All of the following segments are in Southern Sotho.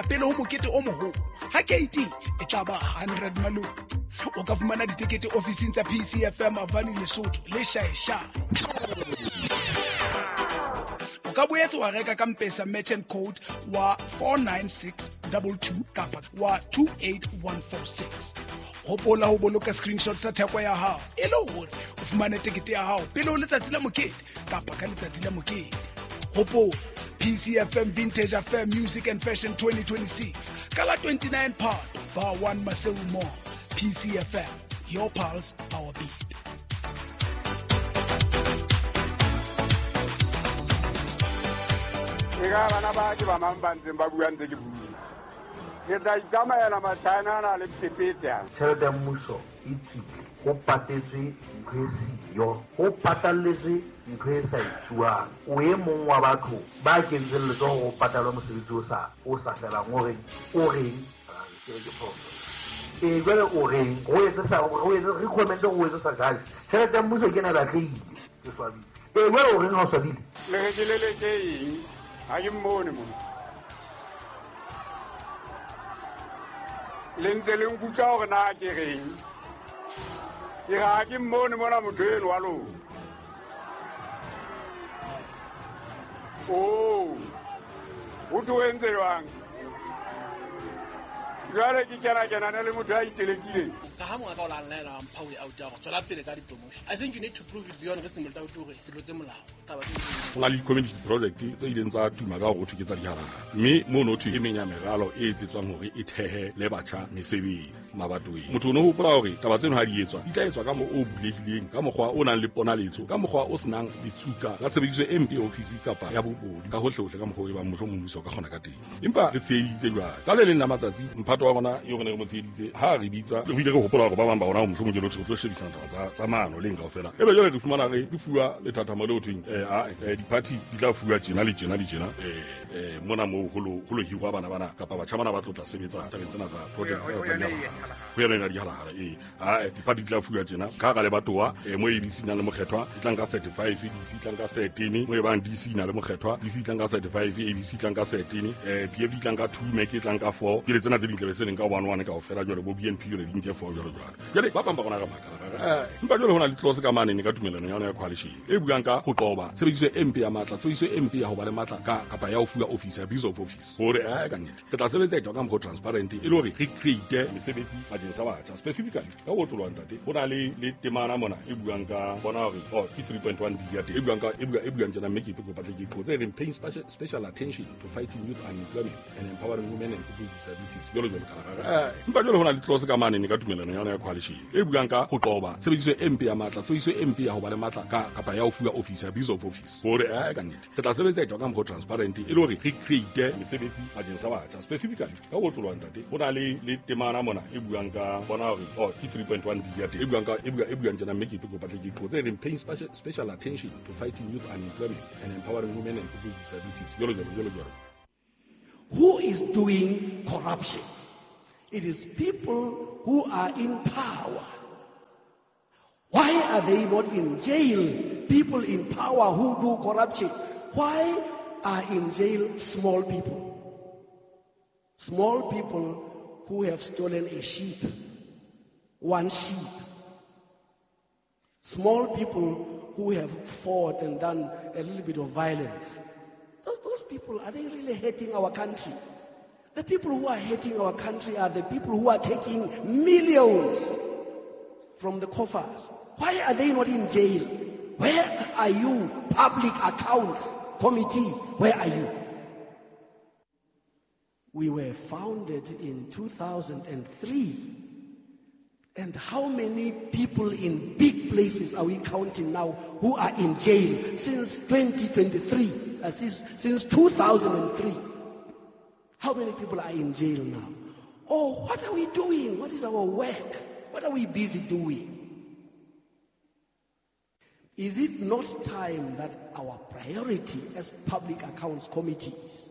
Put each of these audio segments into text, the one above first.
feela pele ho mokete o moholo. Ha keiting e tla ba 100 Maluti. O ka fumana ditekete ofising tsa PCFM Avani Lesotho le Shaeshae. O ka boetse wa reka ka Mpesa merchant code wa 49622 kapa wa 28146. Hopola ho boloka screenshot sa theko ya hao e le hore o fumane tekete ya hao pele ho letsatsi la mokete kapa ka letsatsi la mokete. Hopola PCFM Vintage Affair Music and Fashion 2026 ka la 29 Phato Bar 1 Maseru Mall. PCFM, your pulse, our beat. E ka bana ba ke ba mang ba ntseng ba bua ntse ke bua. Ke tla itsamaela Machina ana le phephethe ana. Tjhelete ya mmuso e tswile, ho patetswe ntho e siyo, ho patalletswe ntho e sa etsuwang. O e mong wa batho ba kentseng letsoho ho patalwa mosebetsi o sa felang, o reng, o reng, ke re ke phoso. Ee, jwale o reng, o etse sa, o etse, recommend o etse sa judge. Tjhelete ya mmuso ke ena e batlehile, ke swabile. Ee, jwale o reng ha o swabile? Le re ke leleke eng? Ha ke mmone mona. Le ntse le nkutlwa hore na ke reng? Ke re ha ke mmone mona motho eno wa lona. Oh, ho thwe o entse jwang? Jwale ke kena-kenane le motho ya itelekileng. Ka ha mongaka o la nlaela wa mpha way out ya gore tswela pele ka di-promotion. I think you need to prove it beyond reasonable doubt hore ke tlotse molao. Taba tse ding. Ho na le di-community project tse ileng tsa tuma ka hore ho thwe ke tsa dihalala, mme mono ho thwe e meng ya meralo e etsetswang hore e thehe le batjha mesebetsi mabatoweng. Motho o ne hopola hore taba tseno ha di etswa di tla etswa ka mo o bulehileng, ka mokgwa o nang le ponaletso, ka mokgwa o senang letsuka la tshebediso e mpe ya ofisi kapa ya bobodu, ka hohlehohle ka mokgwa o e bang mohlomong mmuso o ka kgona ka teng. Empa re tsheheditse jwale. Ka le leng la matsatsi mphato wa rona eo re ne re mo tsheheditse ha re bitsa, re bile re hopola hore ba bang ba rona mohlomong ke lotho re tlo shebisana taba tsa maano leng kaofela. Ebe jwale re fumana re fuwa lethathamo le ho thweng, di-party di tla fuwa tjena le tjena le tjena, mona moo ho lo hirwa bana bana kapa batjha bana ba tlo tla sebetsa tabeng tsena tsa projects tsena tsa dihalala. Ho yona ena dihalala, ee. Di-party di tla fuwa tjena. Ka hara lebatowa, mo ABC nang le mokgethwa, e tla nka 35, ADC e tla nka 13, mo e bang DC na le mokgethwa, DC e tla nka 35, ABC e tla nka 13, PFD e tla nka 2, MEC e tla nka 4. Ke le tsena tse ding tlabe se leng ka 1 1 kaofela jwale, bo BNP jwale di nke 4 jwalo jwalo. Jwale ba bang ba rona re makala, ra re, empa jwale ho na le clause ka mane ka tumelano ya yona ya coalition e buang ka ho qoba tshebediso e mpe ya matla, tshebediso e mpe ya ho ba le matla ka kapa ya ho fuwa office, abuse of office. Hore, ka nnete re tla sebetsa etwa ka mokgwa o transparent e le hore re create mesebetsi bakeng sa batjha. Specifically ka ho otloloha ntate, ho na le temana mona e buang ka bona hore, oh, ke 3.1 D ya teng, e buang ka, e bua, e buang tjena, mme ke kopa tle ke qotse, e reng paying special attention to fighting youth unemployment and empowering women and people with disabilities, jwalo jwalo ka la. Empa jwale ho na le clause ka mane ka tumelano ya yona ya coalition e buang ka ho qoba tshebediso e mpe ya matla, tshebediso e mpe ya ho ba le matla ka kapa ya ho fuwa office, abuse of office. Hore, ka nnete re tla sebetsa etwa ka mokgwa o transparent e le hore re create mesebetsi bakeng sa batjha. Specifically ka ho otloloha ntate, ho na le temana mona e buang ka bona hore, oh, ke 3.1 D ya teng, e buang ka, e bua, e buang tjena, mme ke kopa tle ke qotse, e reng paying special attention to fighting youth unemployment and empowering women and people with disabilities, jwalo jwalo jwalo jwalo. Who is doing corruption? It is people who are in power. Why are they not in jail? People in power who do corruption. Why are in jail small people? Small people who have stolen a sheep, one sheep. Small people who have fought and done a little bit of violence. Those people, are they really hurting our country? The people who are hurting our country are the people who are taking millions from the coffers. Why are they not in jail? Where are you, Public Accounts Committee? Where are you? We were founded in 2003. And how many people in big places are we counting now who are in jail since 2023, since 2003? How many people are in jail now? Oh, what are we doing? What is our work? What are we busy doing? Is it not time that our priority as public accounts committees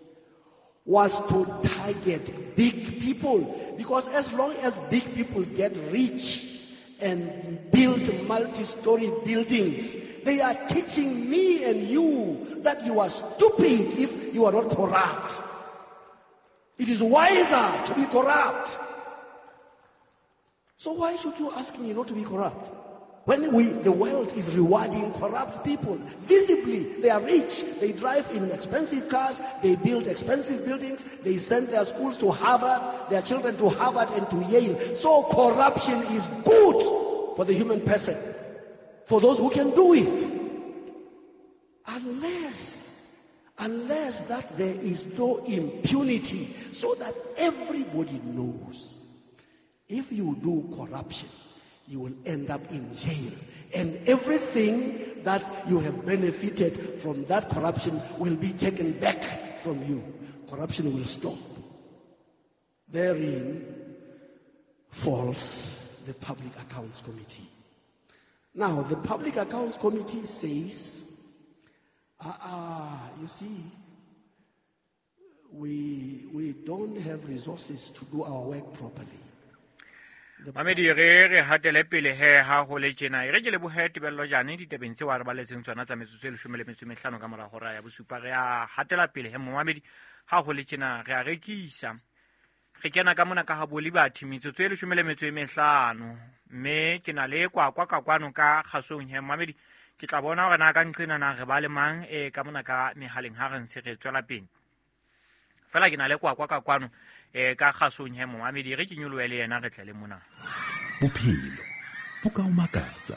was to target big people? Because as long as big people get rich and build multi-story buildings, they are teaching me and you that you are stupid if you are not corrupt. It is wiser to be corrupt. So why should you ask me not to be corrupt? When the world is rewarding corrupt people, visibly they are rich, they drive in expensive cars, they build expensive buildings, they send their schools to Harvard, their children to Harvard and to Yale. So corruption is good for the human person, for those who can do it. Unless that there is no impunity, so that everybody knows if you do corruption, you will end up in jail. And everything that you have benefited from that corruption will be taken back from you. Corruption will stop. Therein falls the Public Accounts Committee. Now, the Public Accounts Committee says, you see, we don't have resources to do our work properly. Mamedi re hatele pele he ha ho le tjena e re ke lebohe Tebello Jane ditabeng tseo a re baletseng tsona tsa metsotso e 15 ka mora hora ya bosupa. Re a hatela pele he momamedi ha ho le tjena re a rekisa re kena ka mona ka ha bo Liberty metsotso e 15 mme ke na le kwakwa ka kwano ka kgasong he momamedi ke tla bona hore na ka nqena na re ba le mang e ka mona ka mehaleng ha re ntse re tswela pele fela ke na le kwakwa ka kwano ka kgasong he momamedi re ke nyolohe le yena re tle le mona. Bophelo bo ka o makatsa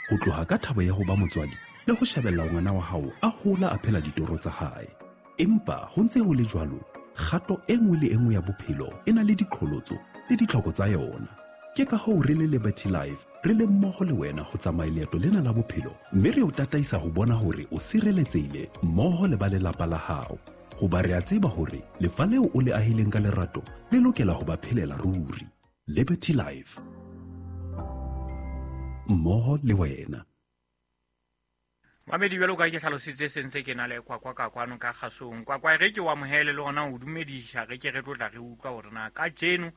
ho tloha ka thabo ya ho ba motswadi le ho shebella ngwana wa hao a hola a phela ditoro tsa hae, empa ho ntse ho le jwalo kgato e nngwe le e nngwe ya bophelo e na le diqholotso le ditlhoko tsa yona. Ke ka hoo re le Liberty Life re le mmoho le wena ho tsamaya leeto lena la bophelo mme re o tataisa ho bona hore o sireletsehile mmoho le ba lelapa la hao. Hoba re a tseba hore lefa leo o le ahileng ka lerato le lokela ho ba phelela ruri. Liberty Life, mmoho le wena. Mamedi jwalo ka ke hlalositse sentse ke na le kwakwa ka kwano ka kgasong. Kwakwa re ke wa amohele le hona o dumedisha re ke re tlotla re utlwa hore na ka jeno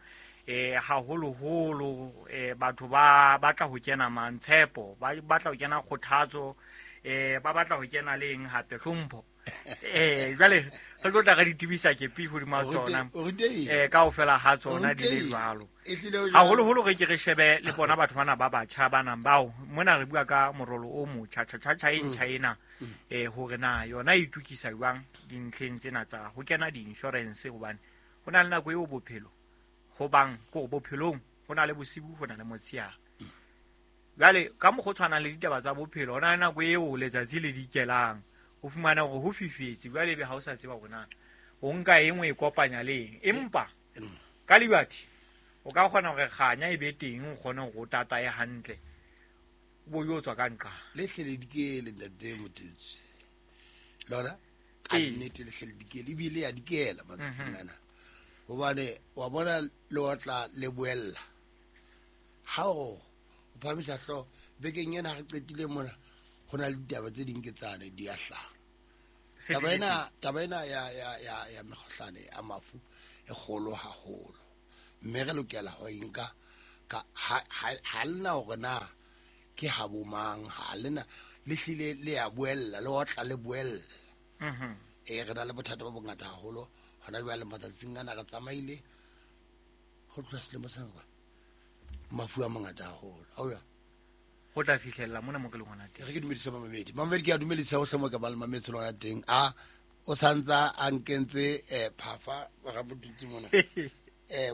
haholoholo batho ba batla ho kena mantshepo, ba batla ho kena kgothatso, ba batla ho kena le eng hape hlompho. Jwale re tlo tla re ditibisa ke pi hodima tsona kaofela ha tsona di le jwalo. Haholoholo re ke re shebe le bona batho bana ba batjha ba nang bao mona re bua ka morolo o motjha tjha e ntjha ena hore na yona e itukisa jwang dintlheng tsena tsa ho kena di-insurance, hobane ho na le nako eo bophelo ho bang ko bophelong ho na le bosibu ho na le motsheare. Jwale ka mokgwa o tshwanang le ditaba tsa bophelo ho na le nako eo letsatsi le dikelang o fumana hore ho fifetse, jwale ebe ha o sa tseba hore na o nka eng o e kopanya le eng. Empa ka Liberty o ka kgona hore kganya e be teng o kgone hore o tataye hantle o bo yo tswa ka nqa le hlele dikele ntate Motetsi lona ka nnete le hlele dikele ebile ya dikela matsatsing ana hobane wa bona le otla le boella ha o phamisa hlo bekeng ena re qetile mona ho na le ditaba tse ding ke tsane di a hlaha. Taba ena ya mekgohlane a mafu e kgolo haholo mme re lokela ho inka ka ha lena hore na ke ha bo mang ha lena le hlile le ya boella le otla le boella. Re na le bothata ba bongata haholo hona jwale matsatsing ana re tsamaile ho tloha selemo sena kwa mafu a mangata haholo. Hao ho tla fihlella mona mo ke leng hona teng. Re ke dumedisa mamedi. Mamedi ke a dumedisa hohle mo ka ba le mametse lona teng. A o santsa a nkentse phafa ra bodutse mona.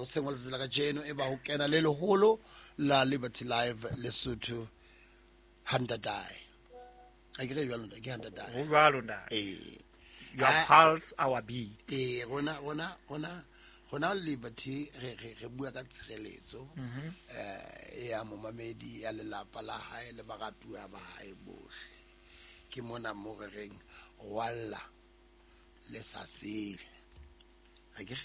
O sengwe letsatsi la kajeno e ba ho kena le leholo la Liberty Live Lesotho Hantatae. A ke re jwalo ntate, ke Hantatae. Ho jwalo ntate. Your pulse our beat. Rona Liberty re bua ka tshireletso ya momamedi ya lelapa la hae le baratuwa ba hae bohle. Ke mona mo re reng walla le sa sele. Akere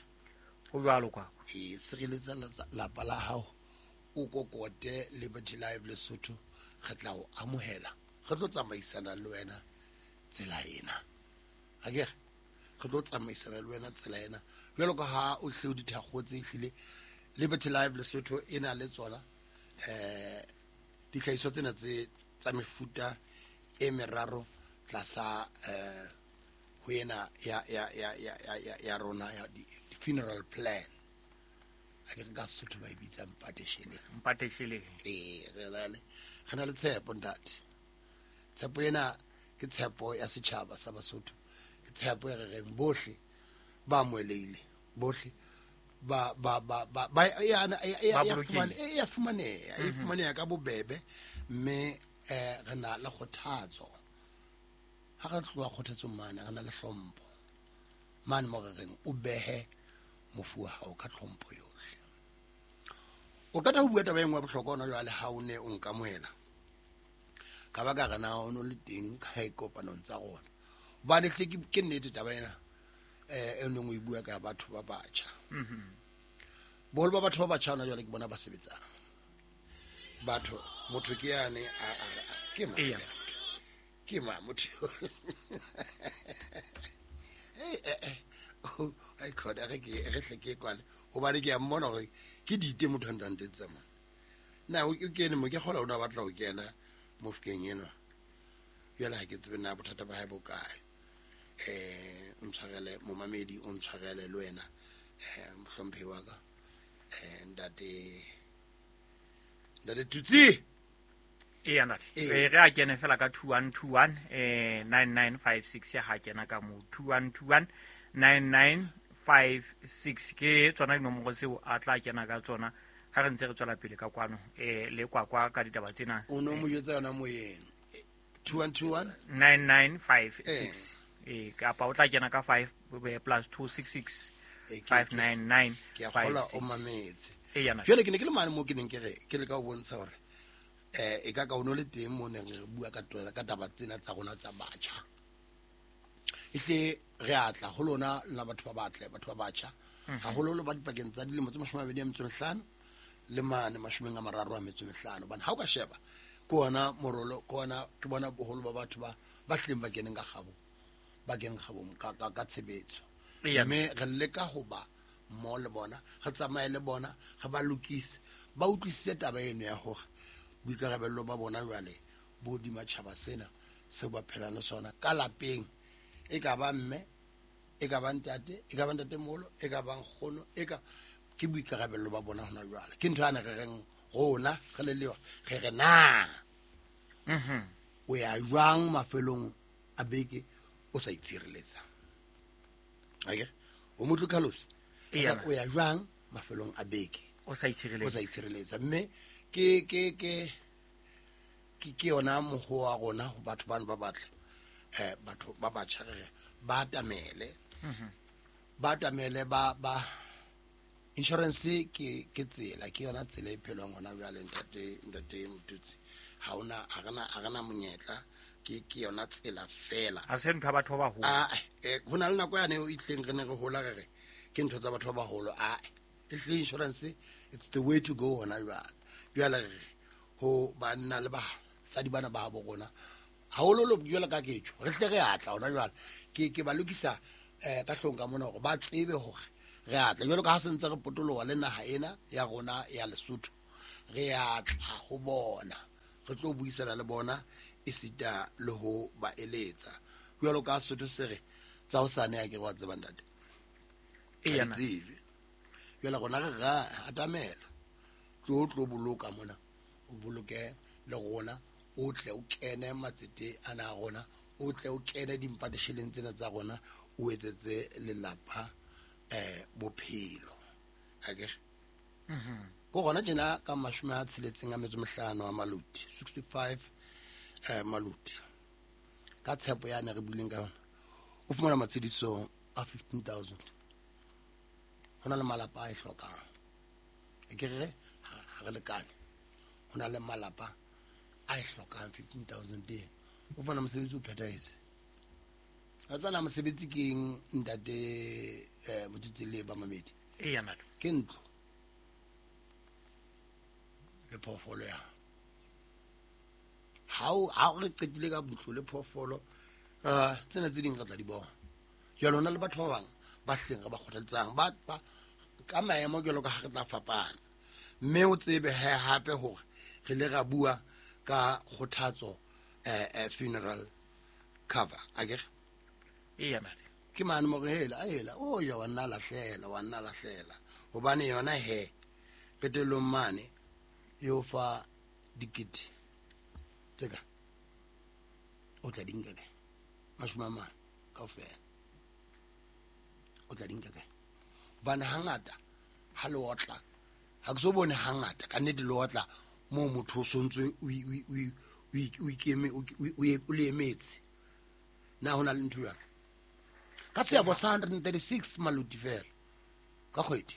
ho jwalo kwa. Sireletsa lapa la hao o kokote Liberty Live Lesotho re tla o amohela. Re tlo tsamaisana le wena tsela ena. Akere re tlo tsamaisana le wena tsela ena. Jwalo ka ha o hle o dithakgotse ehlile Liberty Live Lesotho e na le tsona ditlhahiso tsena tse tsa mefuta e meraro tlasa ho ena ya rona ya Funeral plan. A ke re ka Sesotho ba e bitsa mpatesheleng. Mpatesheleng. Ee, re na le tshepo ntate. Tshepo ena ke tshepo ya setjhaba sa Basotho. Ke tshepo e re reng bohle ba amohelehile, bohle ba e fumaneha ka bobebe, mme re na le kgothatso. Ha re tloha kgothatsong mane, re na le hlompho. Mane mo re reng o behe mofu wa hao ka tlhompho yohle. O qeta ho bua taba e nngwe ya bohlokwa hona jwale ha o ne o nkamohela. Ka ba ka re na o no le teng kae kopanong tsa rona. Hobane hle ke nnete taba ena e neng o e bua ka batho ba batjha. Boholo ba batho ba batjha hona jwale ke bona ba sebetsang. Batho, motho ke yane ke mang? Ke mang motho? Ai khona re hle ke kwale hobane ke a mmona hore ke dite motho a ntantetse tsamaya. Na o kene mo ke kgola o na batla ho kena mofokeng enwa. Jwale ha ke tsebe na bothata ba hae bo kae. Ntshwarele momamedi, o ntshwarele le wena mohlomphehi wa ka ntate Tutsi. Eya ntate. Re a kene fela ka 2121 9956 ha kena ka mo 2121 9956 ke tsona dinomoro tseo a tla kena ka tsona ha re ntse re tswela pele ka kwano le kwakwa ka ditaba tsena. O no mo jwetsa yona moyeng 2121 9956 kapa o tla kena ka 5 plus 266 599 ke a kgola o mametse. Jwale ke ne ke le mane mo ke neng ke re ke le ka o bontsha hore e ka o no le teng mo ne re bua ka ka taba tsena tsa rona tsa batjha. Ehle re atla ho lona la batho ba batle, batho ba batjha, haholo ba dipakeng tsa dilemo tse 25 le mane 35. Hobane ha o ka sheba ke ona morolo, ke ona ke bona boholo ba batho ba hlileng ba keneng ka kgabo, ba keneng kgabong ka tshebetso. Mme re leka ho ba mmoho le bona, re tsamaye le bona, re ba lokise, ba utlwisise taba eno ya hore boikarabello ba bona jwale bo hodima tjhaba sena seo ba phelang le sona ka lapeng. E ka ba mme, e ka ba ntate, e ka ba ntatemoholo, e ka ba nkgono, e ka ke boikarabello ba bona hona jwale. Ke ntho ane re reng rona re le lewa, re re na o ya jwang mafelong a beke o sa itshireletsa. Akere o motlo Carlos, o ya jwang mafelong a beke o sa itshireletsa. Mme ke yona moho wa rona ho batho bano ba batle, batho ba batjha re ba atamele, ba atamele ba insurance ke tsela, ke yona tsela e phelwang hona jwale ntate Motutsi. Ha ona ha rena monyetla, ke yona tsela fela. Ha se ntho ya batho ba baholo. Ho na le nako yane e itleng re ne re hola re re ke ntho tsa batho ba baholo. Ehle insurance it's the way to go hona jwale. Jwale re ho banna le basadi bana ba bo rona hahololo jwale ka ketjo re tle re atla hona jwale. Ke ba lokisa ka hlong ka mona hore ba tsebe hore re atla jwale ka ha se ntse re potoloha le naha ena ya rona ya Lesotho, re atla ho bona, re tlo buisana le bona esita le ho ba eletsa. Jwalo ka Sesotho se re tsa hosane ha ke re wa tseba ntate. Jwale rona re ra atamela tlo boloka mona, o boloke le rona, o tle o kene matsete ana a rona, o tle o kene dimpatesheleng tsena tsa rona, o etsetse lelapa bophelo. Akere ko rona tjena ka 65 wa maluti, 65 maluti ka tshepo yane re buileng ka yona, o fumana matshediso a 15,000. Ho na le malapa a e hlokang, e ke re ha re lekane, ho na le malapa a e hlokang 15,000 teng. O fumana mosebetsi o phethahetse. A tsana mosebetsi ke eng ntate Motutsi le ba mamedi? Ke ntlo le phoofolo ya ha o re qetile ka ntlo le phoofolo, tsena tse ding re tla di bona. Jwale hona le batho ba bang ba hleng re ba kgothaletsang ba ka maemo jwalo ka ha re tla fapana. Mme o tsebe hape hore re le ra bua ka kgothatso funeral cover, akere? Eya ntate. Ke mane mo re hela a hela o ja wa nna lahlela wa nna lahlela hobane yona he qetellong mane e o fa dikete tse ka o tla di nka kae 40 kaofela o tla di nka kae hobane hangata ha le otla ha ke so bone hangata ka nnete le otla moo motho o sontse o ikeme o le emetse na ho na le ntho jwalo ka seabo sa 136 maluti fela ka kgwedi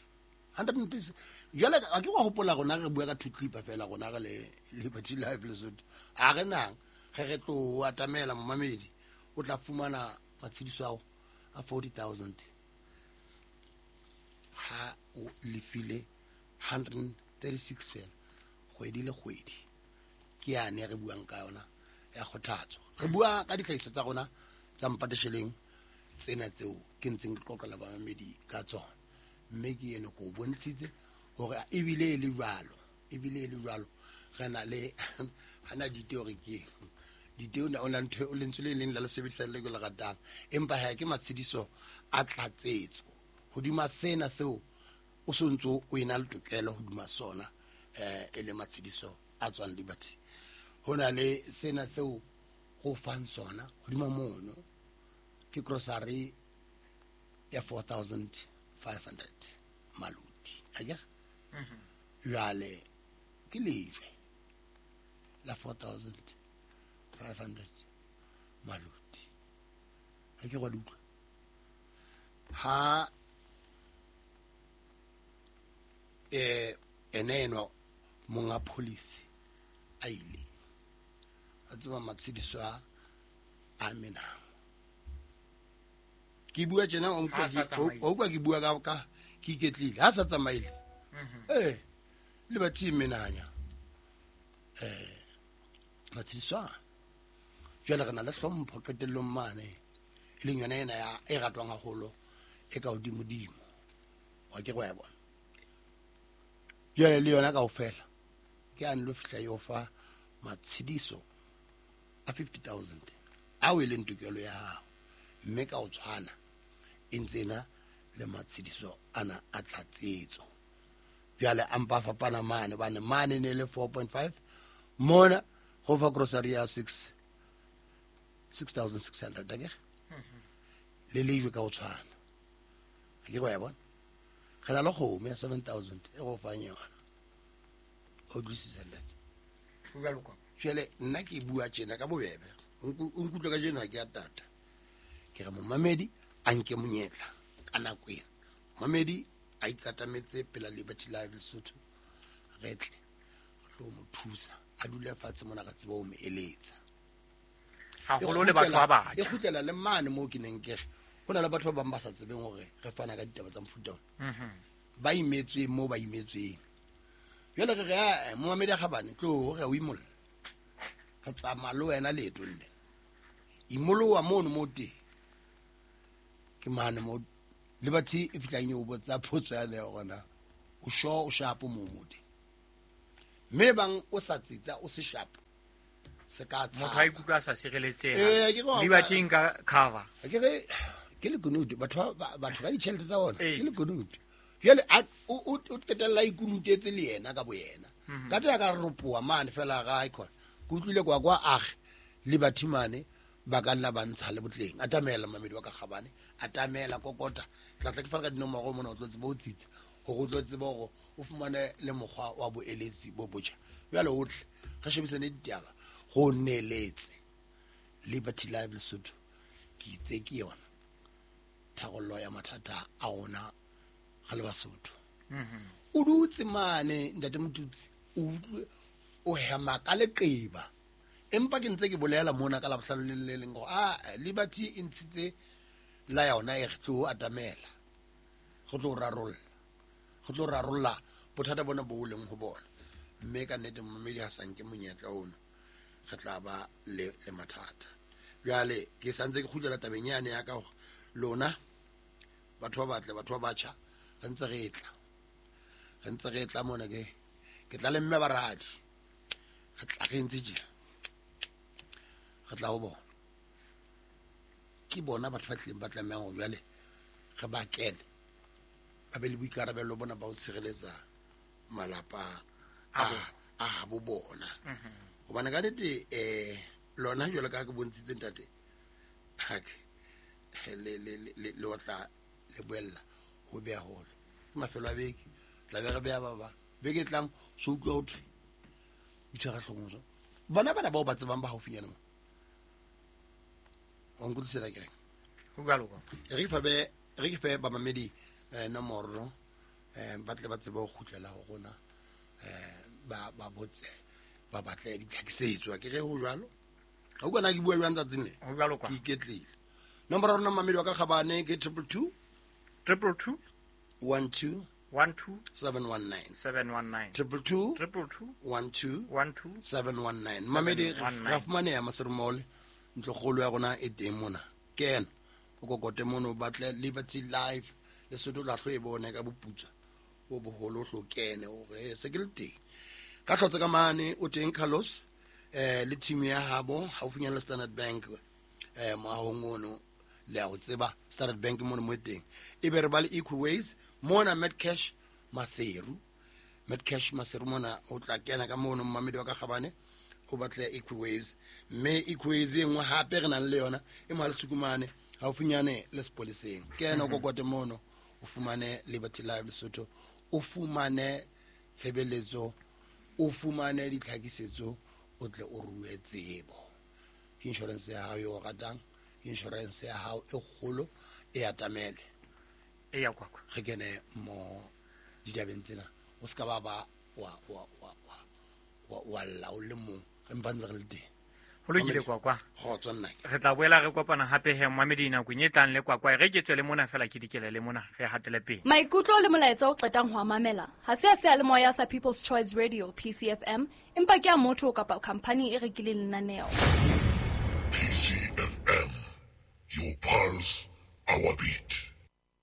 136 jwale a ke wa hopola rona re bua ka two clipper fela rona re le Liberty Live Lesotho a re nang ge re tlo atamela momamedi o tla fumana matshediso ao a 40,000 ha o lefile 136 fela kgwedi le kgwedi ke yane re buang ka yona ya kgothatso re bua ka ditlhahiso tsa rona tsa mpatesheleng tsena tseo ke ntseng ke qoqela bamamedi ka tsona mme ke ene ko bontshitse hore ebile e le jwalo re na le hana diteo re ke diteo na ona ntho o lentswe le leng la le sebedisa le ke le ratang empa ha ke matshediso a tlatsetso hodima sena seo o sontso o ena le tokelo hodima sona e le matshediso a tswang Liberty ho na le sena seo go fang sona hodima mono ke grocery ya 4,500 maluti akere jwale ke lejwe la 4,500 maluti ha ke go utlwa ha ene enwa monga policy a ile a tseba matshediso a menang ke bua tjena o utlwa ke bua ka ke iketlile ha sa tsamaile le bathi menanya matshediso jwale re na le hlompho qetellong mane e leng yona ena ya e ratwang haholo e ka hodimodimo wa ke go ya bona jwale le yona kaofela ke a nlo fihla yo fa matshediso a 50,000 ao e leng tokelo ya hao mme ka o tshwana e ntse na le matshediso ana a tlatsetso jwale a mpa fapana mane bane mane ne le 4.5 mona go fa grocery ya 6,600 akere le lejwe ka o tshwana a ke go ya bona re na le kgomo ya 7,000 e go fang yona o utlwisisa ntate jwale nna ke bua tjena ka bobebe o nkutlwe ka jeno ha ke a tata ke re momamedi a nke monyetla ka nako ena momamedi a ikatametse pela Liberty Live Lesotho re tle re tlo mo thusa a dule fatshe mona ka tseba o mo eletsa haholo le batho ba batjha e kgutlela le mane moo ke neng ke re ho na le batho ba bang ba sa tsebeng hore re fana ka ditaba tsa mofuta ona ba imetsweng moo ba imetsweng jwale re re momamedi a kgabane tlo re o imolla re tsamaya le wena leetong le imoloha mono mo teng ke mane mo Liberty e fihlang e o botsa potso yane ya hore na o sure o shapo moo mo teng mme bang o sa tsitsa o se shapo se ka tshaba motho a ikutlwa a sa sireletseha Liberty nka cover ke re ke lekunutu batho ka ditjhelete tsa bona ke lekunutu jwale o qetella ikunutetse le yena ka boyena ka tla ka ropoa mane fela ga icon ke utlwile kwa kwa age Liberty mane ba ka nna ba ntsha le botleng atamela mamedi wa ka kgabane atamela kokota tla tla ke fana ka dinomoro mona o tlo tseba o tsitsa hore o tlo tseba hore o fumane le mokgwa wa boeletsi bo botjha jwale o tle re shebisane ditaba go neletse Liberty Live Lesotho ke itse ke yona tharollo ya mathata a rona ga le Basotho o dutse mane ntate Motutsi o utlwe o hema ka leqeba empa ke ntse ke bolela mona ka labohlano le le leng gore a Liberty e ntshitse la yona e re tlo atamela go tlo rarolla bothata bona bo leng ho bona mme ka nnete momamedi ha sa nke monyetla ono re tla ba le mathata jwale ke santse ke kgutlela tabeng yane ya ka hore lona batho ba batle batho ba batjha re ntse re tla mona ke tla le mme baradi re tla re ntse tjena re tla ho bona Ke bona batho ba tlileng ba tlamehang hore jwale re ba kene ba be le boikarabelo bona ba ho tshireletsa malapa a habo bona. Hobane ka nnete lona jwalo ka ha ke bontshitse ntate, le otla le boella ho beha holo. Ke mafelo a beke, tla be re beha ba bang. Beke e tlang so utlwa ho thwe itshwara hloohong so. Bona bana bao ba tsebang ba haufinyana mo. Wa nkutlwisela ke reng? Ho jwalo kwa. Re ke fe bamamedi nomoro ba tle ba tsebe ho kgutlela ho rona, ba botse, ba batle ditlhakisetso. Ke re ho jwalo. Ha o bona ke bua jwang tsatsing le? Ho jwalo kwa. Ke iketlile. Nomoro ya rona mamedi wa ka kgabane ke 222 222 12 12 719. 719. 222 222 12 12 719. Mamedi, 719. ra fumaneha Maseru Mall, ntlokgolo ya rona e teng mona. Kena o kokote mono, o batle Liberty Live Lesotho, la hlo e bone ka boputswa bo boholo, o hlo kene hore se ke le teng. Ka hlotse ka mane o teng Carlos le team ya habo haufinyana le Standard Bank, moahong ono le a ho tseba Standard Bank mono mo e teng. Ebe re ba le Equiways mona Medcash Maseru, Medcash Maseru mona o tla kena ka mono mmamedi wa ka kgabane o batle Equiways. Mme Equiways e nngwe hape re nang le yona e mo ha Lesukumane haufinyane le sepoleseng. Kena o kokote mono o fumane Liberty Live Lesotho, o fumane tshebeletso, o fumane ditlhakisetso, o tle o rue tsebo. Ke insurance ya hao e o ratang, insurance ya hao e kgolo e atamele. E ya kwakwa. Re kene mo ditabeng tsena, o ska ba ba wa wa wa wa wa wa lla o le mong, re mpa ntse re le teng. Ho lokile kwakwa. Kgotso nna. Re tla boela re kopana hape he mmamedi nakong e tlang le kwakwa. Re ke tswe le mona fela ke dikele le mona re hatele pele. Maikutlo le molaetsa o qetang ho a mamela ha se a seyalemoya sa People's Choice Radio PCFM, empa ke a motho kapa khamphani e rekileng lenaneo. PCFM, your pulse, our beat.